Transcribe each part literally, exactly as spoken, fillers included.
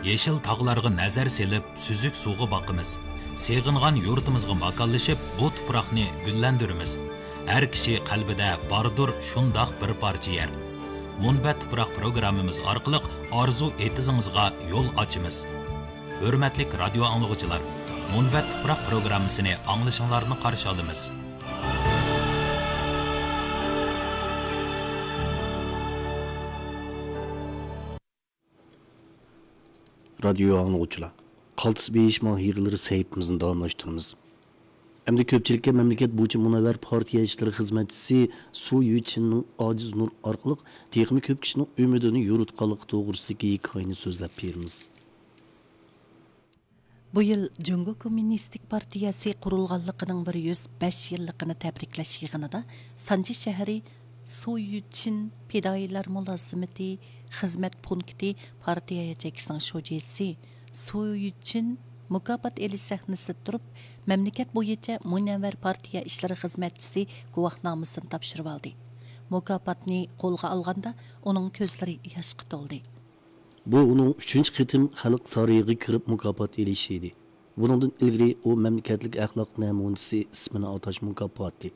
يېشىل تاغلارغا نەزەر سېلىپ، سۈزۈك سۇغا باقىمىز. سېغىنغان يۇرتىمىزغا ماكانلىشىپ، بۇ تۇپراقنى گۈللەندۈرىمىز. ھەر كىشى قەلبىدە باردۇر شۇنداق بىر پارچە يەر. مۇنبەت تۇپراق پروگراممىمىز ئارقىلىق ئارزۇ ئېتىزىڭىزغا يول ئاچىمىز. ھۆرمەتلىك رادىيو ئاڭلىغۇچىلار، مۇنبەت تۇپراق پروگراممىسىنى ئاڭلىشىڭلارنى قارشى ئالىمىز. رادىيو ئاڭلىغۇچىلار، قالتىس بېيىش ماھىرلىرى سەھىپىمىزنى داۋاملاشتۇرىمىز. ئەمدى كۆپچىلىككە مەملىكەت بويىچە مۇنەۋۋەر پارتىيە ئىشلىرى خىزمەتچىسى سۇ يۈچىننىڭ ئاجىز نۇر ئارقىلىق تېخىمۇ كۆپ كىشىنىڭ ئۈمىدىنى يورۇتقانلىقى توغرىسىدىكى ھېكايىنى سۆزلەپ بېرىمىز. بۇ يىل جۇڭگو كوممۇنىستىك پارتىيەسى قۇرۇلغانلىقىنىڭ بىر يۈز بەش يىللىقىنى تەبرىكلەش يىغىنىدا سانجى شەھىرى سۇيۈچىن پىدائىيلار مۇلازىمىتى خىزمەت پونكىتى پارتىيە ياچېيكىسىنىڭ شۇجىسى سۇيۈچىن مۇكاپات ئېلىش سەھنىسىدە تۇرۇپ، مەملىكەت بويىچە مۇنەۋۋەر پارتىيە ئىشلىرى خىزمەتچىسى گۇۋاھنامىسىنى تاپشۇرۇۋالدى. مۇكاپاتنى قولغا ئالغاندا، ئۇنىڭ كۆزلىرى ياشقا تولدى. بۇ ئۇنىڭ ئۈچىنچى قېتىم خەلق سارىيىغا كىرىپ مۇكاپات ئېلىشى ئىدى. بۇنىڭدىن ئىلگىرى ئۇ مەملىكەتلىك ئەخلاق نەمۇنىسى ئىسمىنى ئاتاش مۇكاپاتى،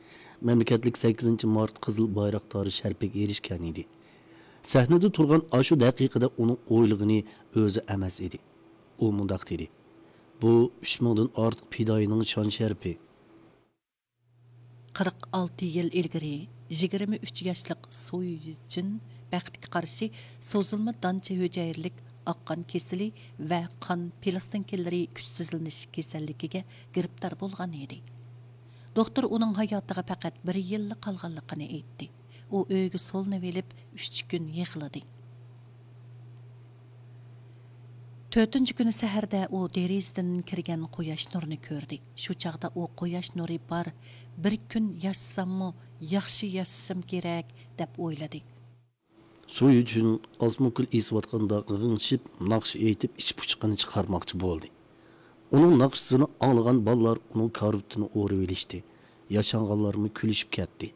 مەملىكەتلىك سەككىزىنچى مارت قىزىل بايراقدارى شەرىپىگە ئېرىشكەن ئىدى. سەھنىدە تۇرغان ئاشۇ دەقىقىدە ئۇنىڭ ئويلىغىنى ئۆزى ئەمەس ئىدى. ئۇ مۇنداق دېدى: «بۇ ئۈچ مىڭدىن ئارتۇق پىدائىينىڭ شان شەرىپى.» قىرىق ئالتە يىل ئىلگىرى يىگىرمە ئۈچ ياشلىق سۇيىچىن بەختكە قارشى سوزۇلما دانچە ھۈجەيرىلىك ئاق قان كېسىلى ۋە قان پىلاستىنكىلىرى كۈچسىزلىنىش كېسەللىكىگە گىرىپتار بولغان ئىدى. دوختۇر ئۇنىڭ ھاياتىغا پەقەت بىر يىللا قالغانلىقىنى ئېيتتى. ئۇ ئۆيىگە سولىنىۋېلىپ، ئۈچ كۈن يىغلىدى. تۆتىنچى كۈنى سەھەردە ئۇ دېرىزىدىن كىرگەن قۇياش نۇرىنى كۆردى. شۇ چاغدا ئۇ قۇياش نۇرى بار، بىر كۈن ياشىساممۇ، ياخشى ياشىشىم كېرەك، دەپ ئويلىدى. سۇيىچىن ئازمۇكۈل ئېسىۋاتقاندا غىڭشىپ، ناخشا ئېيتىپ، ئىچ پۇچىقىنى چىقارماقچى بولدى. ئۇنىڭ ناخشىسىنى ئاڭلىغان بالىلار ئۇنىڭ كارىۋىتىنى ئورىۋېلىشتى. ياشانغانلارمۇ كۈلۈشۈپ كەتتى.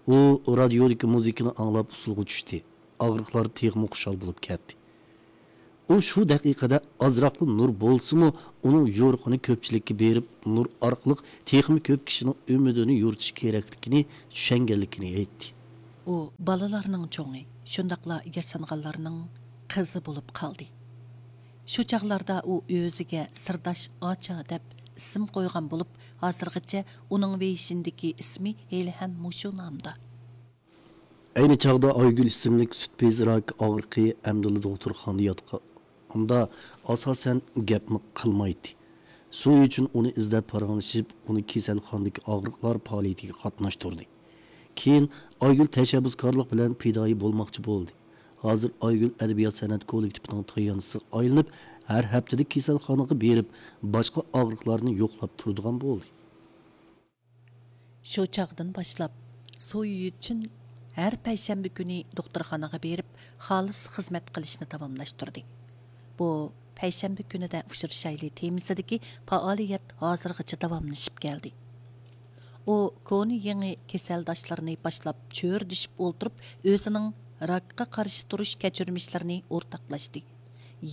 ئۇ رادىيودىكى مۇزىكىنى ئاڭلاپ ئۇسسۇلغا چۈشتى. ئاغرىقلار تېخىمۇ خۇشال بولۇپ كەتتى. ئۇ شۇ دەقىقىدە ئازراقلا نۇر بولسىمۇ، ئۇنىڭ يورۇقىنى كۆپچىلىككە بېرىپ، نۇر ئارقىلىق تېخىمۇ كۆپ كىشىنىڭ ئۈمىدىنى يورۇتۇش كېرەكلىكىنى چۈشەنگەنلىكىنى ئېيتتى. ئۇ بالىلارنىڭ چوڭى، شۇنداقلا ياشانغانلارنىڭ قىزى بولۇپ قالدى. شۇ چاغلاردا ئۇ ئۆزىگە سىرداش ئاچا دەپ ئىسىم قويغان بولۇپ، ھازىرغىچە ئۇنىڭ ۋېيشىندىكى ئىسمى ھېلىھەم مۇشۇ نامدا. ئەينى چاغدا ئايگۈل ئىسىملىك سۈت بېزى راكى ئاغرىقى ئەمدىلا دوختۇرخانىدا ياتقاندا، ئاساسەن گەپمۇ قىلمايتتى. سۇيىچىن ئۇنى ئىزدەپ پاراڭلىشىپ، ئۇنى كېسەلخانىدىكى ئاغرىقلار پائالىيىتىگە قاتناشتۇردى. كېيىن ئايگۈل تەشەببۇسكارلىق بىلەن پىدائىي بولماقچى بولدى. ھازىر ئايگۈل ئەدەبىيات سەنئەت كوللېكتىپىنىڭ تايانچىسىغا ئايلىنىپ، ھەر ھەپتىدە كېسەلخانىغا بېرىپ، باشقا ئاغرىقلارنى يوقلاپ تۇرىدىغان بولدى. شۇ چاغدىن باشلاپ، سۇ يۈچۈن ھەر پەيشەنبە كۈنى دوختۇرخانىغا بېرىپ، خالىس خىزمەت قىلىشنى داۋاملاشتۇردى. بۇ پەيشەنبە كۈنىدە ئۇچرىشايلى تېمىسىدىكى پائالىيەت ھازىرغىچە داۋاملىشىپ كەلدى. ئۇ كونا يېڭى كېسەلداشلىرىنى باشلاپ چۆرىدىشىپ ئولتۇرۇپ، ئۆزىنىڭ راكقا قارشى تۇرۇش كەچۈرمىشلىرىنى ئورتاقلاشتى.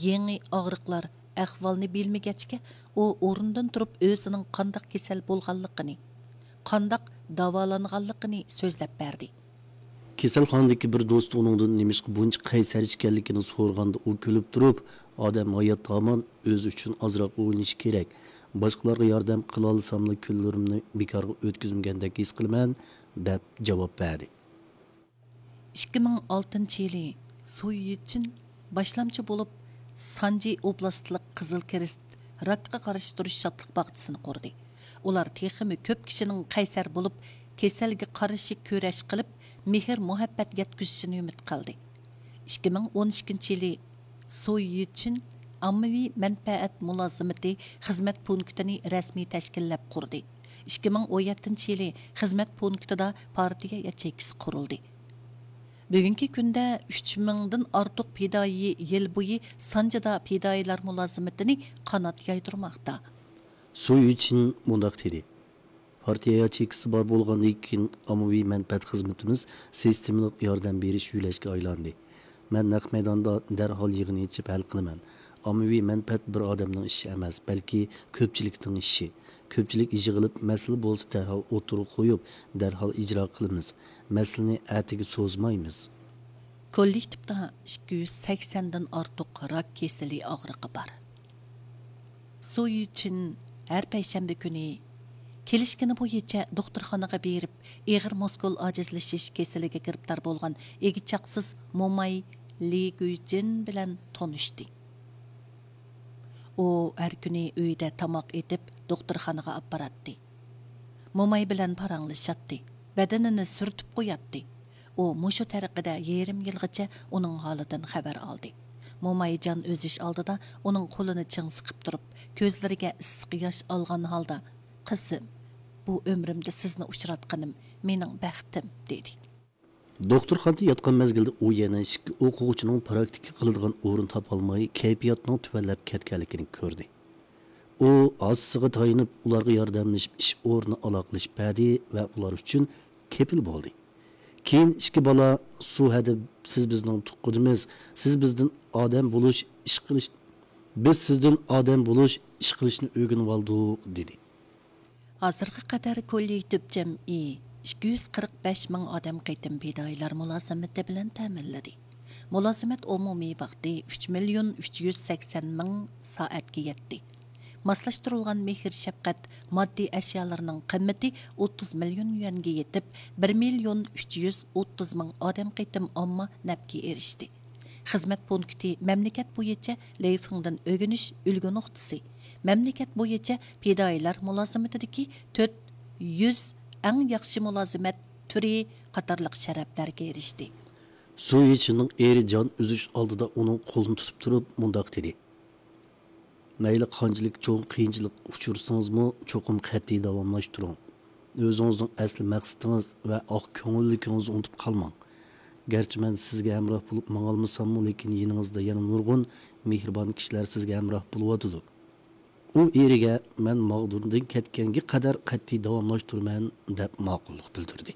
يېڭى ئاغرىقلار ئەھۋالنى بىلمىگەچكە، ئۇ ئورنىدىن تۇرۇپ ئۆزىنىڭ قانداق كېسەل بولغانلىقىنى، قانداق داۋالانغانلىقىنى سۆزلەپ بەردى. كېسەلخانىدىكى بىر دوستى ئۇنىڭدىن نېمىشقا بۇنچە قەيسەر ئىكەنلىكىنى سورىغاندا، ئۇ كۈلۈپ تۇرۇپ، «ئادەم ھايات ھامان ئۆزى ئۈچۈن ئازراق ئويلىنىشى كېرەك. باشقىلارغا ياردەم قىلالىساملا، كۈنلىرىمنى بىكارغا ئۆتكۈزمىگەندەك ھېس قىلىمەن» دەپ جاۋاب بەردى. ئىككى مىڭ ئالتىنچى يىلى سۇ يۈچۈن باشلامچى بولۇپ، سانجى ئوبلاستلىق قىزىل كىرېست راكقا قارشى تۇرۇش شادلىق باغچىسىنى قۇردى. ئۇلار تېخىمۇ كۆپ كىشىنىڭ قەيسەر بولۇپ، كېسەلگە قارشى كۈرەش قىلىپ، مېھىر-مۇھەببەت يەتكۈزۈشىنى ئۈمىد قىلدى. ئىككى مىڭ ئون ئىككىنچى يىلى سۇ يۈچۈن ئاممىۋى مەنپەئەت مۇلازىمىتى خىزمەت پونكىتىنى رەسمىي تەشكىللەپ قۇردى. ئىككى مىڭ ئون يەتتىنچى يىلى خىزمەت پونكىتىدا پارتىيە ياچېيكىسى قۇرۇلدى. بۈگۈنكى كۈندە ئۈچ مىڭدىن ئارتۇق پىدائىي يىل بويى سانجىدا پىدائىيلار مۇلازىمىتىنى قانات يايدۇرماقتا. سۇ يۈچىن مۇنداق دېدى: «پارتىيە ياچېيكىسى بار بولغاندىن كېيىن، ئاممىۋى مەنپەئەت خىزمىتىمىز سىستېمىلىق ياردەم بېرىش يۆلەشكە ئايلاندى. مەن نەق مەيداندا دەرھال يىغىن ئېچىپ ھەل قىلىمەن. ئاممىۋى مەنپەئەت بىر ئادەمنىڭ ئىشى ئەمەس، بەلكى كۆپچىلىكنىڭ ئىشى. كۆپچىلىك يىغىلىپ، مەسىلە بولسا دەرھال ئوتتۇرىغا قويۇپ، دەرھال ئىجرا قىلىمىز. مەسىلىنى ئەتىگە سوزمايمىز. كوللېكتىپتا ئىككى يۈز سەكسەندىن ئارتۇق راك كېسىلى ئاغرىقى بار. سۇ يۈچىن ھەر پەيشەنبە كۈنى كېلىشكىنى بويىچە دوختۇرخانىغا بېرىپ، ئېغىر مۇسكۇل ئاجىزلىشىش كېسىلىگە گىرىپتار بولغان ئىگە چاقسىز موماي لى گۈيجىن بىلەن تونۇشتى. ئۇ ھەر كۈنى ئۆيىدە تاماق ئېتىپ، دوختۇرخانىغا ئاپپاراتتى. موماي بىلەن پاراڭلىشاتتى، بەدىنىنى سۈرتۈپ قوياتتى. ئۇ مۇشۇ تەرىقىدە يېرىم يىلغىچە ئۇنىڭ ھالىدىن خەۋەر ئالدى. موماي جان ئۈزۈش ئالدىدا ئۇنىڭ قولىنى چىڭ سىقىپ تۇرۇپ، كۆزلىرىگە ئىسسىق ياش ئالغان ھالدا، «قىزىم، بۇ ئۆمرۈمدە سىزنى ئۇچراتقىنىم مېنىڭ بەختىم» دېدى. دوختۇرخانىدا ياتقان مەزگىلدە ئۇ يەنە ئىككى ئوقۇغۇچىنىڭ پراكتىكا قىلىدىغان ئورۇن تاپالماي، كەيپىياتىنىڭ تۆۋەنلەپ كەتكەنلىكىنى كۆردى. ئۇ ھاسىسىغا تايىنىپ، ئۇلارغا ياردەملىشىپ، ئىش ئورنى ئالاقىلىشىپ بەردى ۋە ئۇلار ئۈچۈن كېپىل بولدى. كېيىن ئىككى بالا، «سۇ ھەدە، سىز بىزنىڭ تۇغقىنىمىز، سىز بىزدىن ئادەم بولۇش، ئىش قىلىش، بىز سىزدىن ئادەم بولۇش، ئىش قىلىشنى ئۆگىنىۋالدۇق» دېدى. ھازىرغا قەدەر كوللېكتىپ جەمئىي ئىككى يۈز قىرىق بەش مىڭ ئادەم قېتىم پىدائىيلار مۇلازىمىتى بىلەن تەمىنلىدى. مۇلازىمەت ئومۇمىي ۋاقتى ئۈچ مىليون ئۈچ يۈز سەكسەن مىڭ سائەتكە يەتتى. ماسلاشتۇرۇلغان مېھىر شەپقەت ماددىي ئەشيالىرىنىڭ قىممىتى ئوتتۇز مىليون يۈەنگە يېتىپ، بىر مىليون ئۈچ يۈز ئوتتۇز مىڭ ئادەم قېتىم ئامما نەپكە ئېرىشتى. خىزمەت پونكىتى مەملىكەت بويىچە لەيفىڭدىن ئۆگىنىش ئۈلگە نۇقتىسى، مەملىكەت بويىچە پىدائىيلار مۇلازىمىتىدىكى تۆت يۈز ئەڭ ياخشى مۇلازىمەت تۈرى قاتارلىق شەرەپلەرگە ئېرىشتى. سۇ يىچىننىڭ ئېرى جان ئۈزۈش ئالدىدا ئۇنىڭ قولىنى تۇتۇپ تۇرۇپ مۇنداق دېدى: «مەيلى قانچىلىك چوڭ قىيىنچىلىق ئۇچرىسىڭىزمۇ، چوقۇم قەتئىي داۋاملاشتۇرۇڭ. ئۆزىڭىزنىڭ ئەسلى مەقسىتىڭىز ۋە ئاق كۆڭۈللۈكىڭىزنى ئۇنتۇپ قالماڭ. گەرچە مەن سىزگە ھەمراھ بولۇپ ماڭالمىساممۇ، لېكىن يېنىڭىزدا يەنە نۇرغۇن مېھرىبان كىشىلەر سىزگە ھەمراھ بولۇۋاتىدۇ.» ئۇ ئېرىگە، «مەن ماغدۇردىن كەتكەنگە قەدەر قەتئىي داۋاملاشتۇرىمەن» دەپ ماقۇللۇق بىلدۈردى.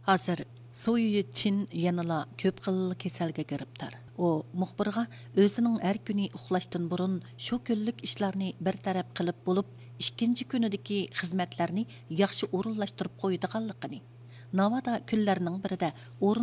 ھازىر سۇ يۈچىن يەنىلا كۆپ خىل كېسەلگە گىرىپتار. ئۇ مۇخبىرغا ئۆزىنىڭ ھەر كۈنى ئۇخلاشتىن بۇرۇن شۇ كۈنلۈك ئىشلارنى بىر تەرەپ قىلىپ بولۇپ، ئىككىنچى كۈنىدىكى خىزمەتلەرنى ياخشى ئورۇنلاشتۇرۇپ قويىدىغانلىقىنى، ناۋادا كۈنلەرنىڭ بىرىدە ئورۇن